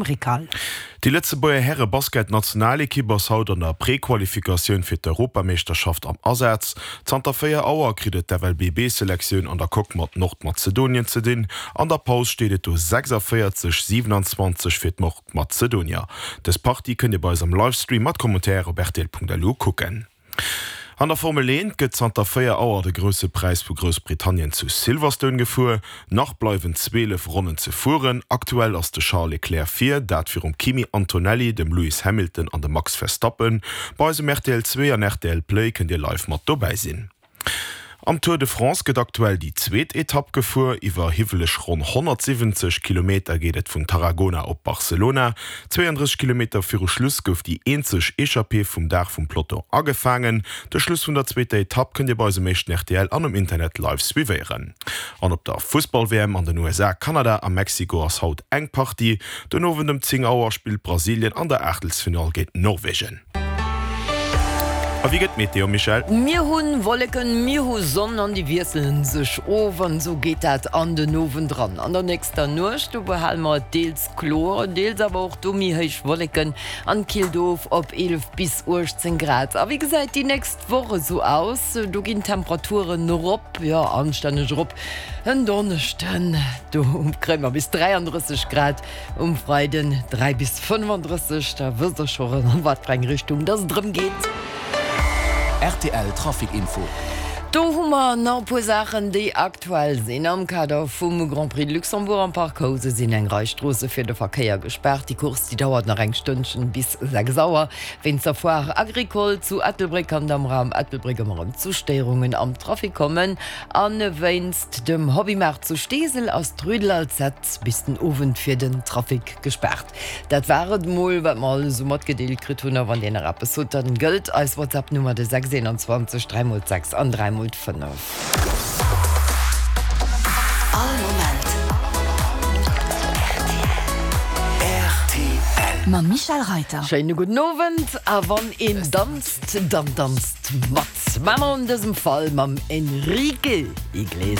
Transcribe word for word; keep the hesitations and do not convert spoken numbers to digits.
Rical. Déi Lëtzebuerger Häre-Basket-Nationalekipp ass haut an der Prequalifikatioun fir d'Europameeschterschaft am Asaz. Zanter véier Auer kritt et d'F L B B-Selektioun an der Coque mat Nordmazedonien ze dinn. An der Paus steet et do sechsundvéierzeg, siewenundzwanzeg fir d'Nordmazedonier. Dës Partie kënnt Dir bei eis am Livestream mat Commentaire op R T L Punkt L U kucken. An der Formel eent gëtt zanter véier Auer de Grousse Präis vu Groussbritannien zu Silverstone gefuer. Nach bleiwen zwielef Ronnen ze fueren. Aktuell ass de Charles Leclerc vir, dat virum Kimi Antonelli, dem Lewis Hamilton an dem Max Verstappen. Bei eis um R T L zwee an R T L Play kënnt Dir live mat dobäi sinn. Am Tour de France gëtt aktuell déi zweet Etapp gefuer. Iwwer hiwweleg ronn honnertsiwwenzeg Kilometer geet et vun Tarragona op Barcelona. Zweeëndrësseg Kilometer viru Schluss gouf déi eenzeg Echappée vum Dag vum Peloton agefaangen. De Schluss vun der zweeter Etapp kënnt Dir bei eis um éischten R T L an um Internet live suivéieren. An op der Fussball-W M an den U S A, Kanada a Mexiko ass haut eng Partie. Den Owend ëm zéng Auer spillt Brasilien an der Aachtelsfinall géint Norwegen. A wéi gëtt d'Meteo, Michèle? Mir hu Wolleken, mir hu Sonn an déi wiesselen sech of an esou geet dat an den Owend eran. An der nächster Nuecht do behale mer et deels kloer, deels awer och do méi héich Wolleken an killt of op eelef bis uechtzéng Grad. A wéi gesäit déi nächst Woch esou aus? Do ginn d'Temperaturen erop, jo anstänneg erop. En Donneschden do kréie mer bis dräiandrësseg Grad, um Freiden dräi bis fënnefandrësseg. Da wësst der scho an wat fir eng Richtung dass et erëm geet. R T L Trafic Info. Do hu mer nach e puer Saachen, déi aktuell sinn. Am Kader vum Grand Prix de Luxembourg am Parc Housen sinn eng Rei Stroosse fir de Verkéier gespaart. Déi Course, déi dauert nach eng Stënnchen bis sechs Auer. Wéinst der Foire Agricole zu Ettelbréck kann et am Raum Ettelbréck ëmmer erëm zu Stéierungen am Trafic kommen. A wéinst dem Hobbymaart zu Steesel ass d'Rue de l'Alzette bis den Owend fir den Trafic gespaart. Dat war et mol, wat mer alles esou matgedeelt kritt hunn. A wann Dir nach eppes hutt, dann gëllt eis WhatsApp-Nummer, de sechs eenanzwanzeg dräi mol d'sechs an dräi mol d'fënnef. All Moment R T L. Mam Michèle Reiter. Schéine gudden Owend a wann een danzt, dann danzt mat. Mä an dësem Fall mam Enrique Iglesias.